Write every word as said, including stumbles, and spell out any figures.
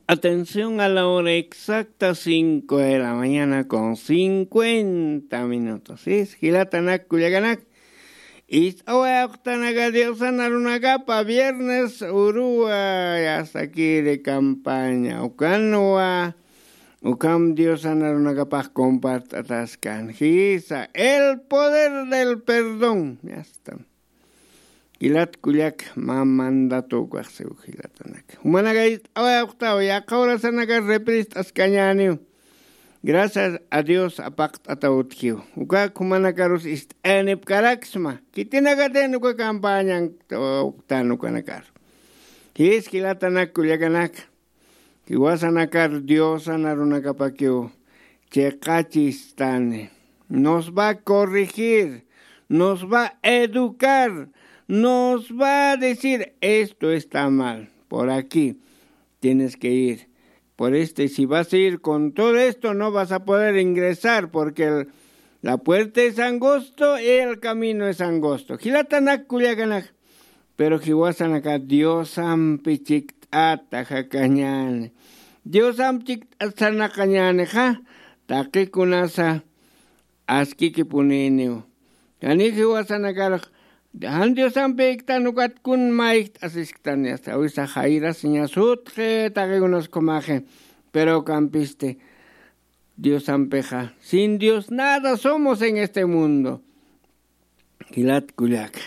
Atención a la hora exacta, cinco de la mañana con cincuenta minutos. Jilatanak kullakanak, ist'awayapxtanaka Diosan arunakapa viernes uruwa, yastakiri campaña ukanwa. Ukham Diosan arunakapax compart'ataskan jisa el poder del perdón. Yasta. Jilat kullak mä mandatukaxsiw jilatanak, jumanaka ist'awayapxtaw yaqha horasanakar reprist'askañäniw. Gracias a Dios apaqt'ataw utjiw. Ukak jumanakarus ist'ayanipkaraksma khitinakatin uka campañan. Uktan ukanakar jis jilatanak kullakanak, jiwasanakar Diosan arunakapakiw chiqachistani. Nos va a corregir, nos va a educar, nos va a decir: "Esto está mal, por aquí tienes que ir. Por este, si vas a ir con todo esto, no vas a poder ingresar, porque el- la puerta es angosto y el camino es angosto". Jilatanak kullakanak, pero jiwasanaka Diosampi chikt'ata jakañäni. Diosampi chikt'at sarnaqañänixa taqi kunasa askikipuniniw. Jani jiwasanakar jan Diosampi iktan ukat kun mä ijt'asisktan, yasta, awisa jayrasiñas utji, taqi kunas kumaxi. Pero ukampisti Diosampixa, sin Dios nada somos en este mundo. Jilat kullaka,